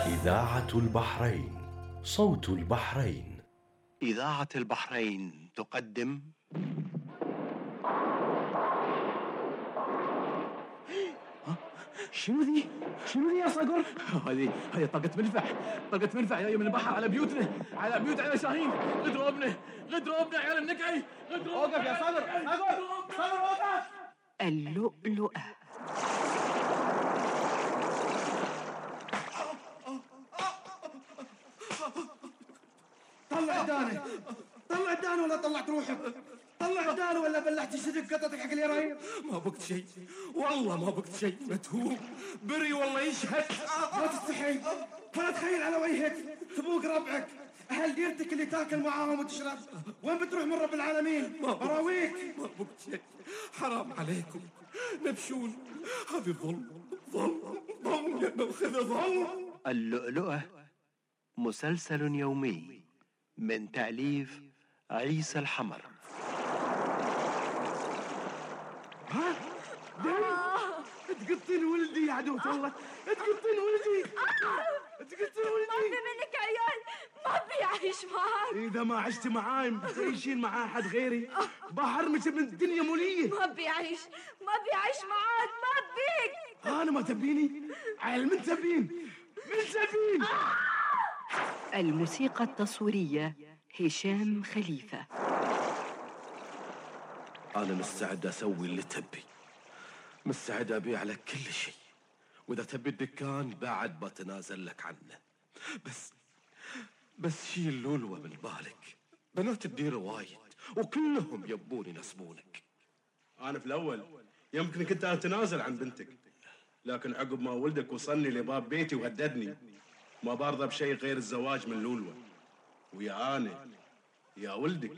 إذاعة البحرين، صوت البحرين. إذاعة البحرين تقدم شنو ذي يا صقر؟ هذه طاقة منفع جاية من البحر على بيوتنا، على شاهين. غدروبنا عيال النكعي. اوقف يا صقر اوقف. اللؤلؤة. طلع الدانة ولا طلعت روحك؟ طلع الدانة ولا بلعت صدق قطتك حق اليرايم؟ ما بقت شيء، والله ما بقت شيء. متهوم بري والله يشهد. ما تستحي ولا تخيل على وجهك تبوق ربعك أهل ديرتك اللي تاكل معاهم وتشرب. وين بتروح من رب العالمين؟ براويك. ما بقت شيء، حرام عليكم نبشون. هذه ظلم يا ناخذ ظلم. اللؤلؤة مسلسل يومي من تأليف عيسى الحمر. تقطين ولدي يا عدوة الله، تقطين ولدي. ما في منك عيال، ما بيعيش معاك. إذا ما عشت معاي بتعيشين مع أحد غيري بحرمك من الدنيا مولية. ما بيعيش معاك، ما بيك. أنا ما تبيني؟ عيل من تبين؟ الموسيقى التصويرية هشام خليفة. أنا مستعد أسوي اللي تبي، مستعد أبيع لك كل شيء، وإذا تبي الدكان بعد بتنازل لك عنه. بس شيل لولوة من بالك، بنات الدير وايد وكلهم يبون ينسبونك. أنا في الأول يمكن كنت أتنازل عن بنتك، لكن عقب ما ولدك وصلني لباب بيتي وهددني ما برضى بشيء غير الزواج من لولوة. ويا أنا يا ولدك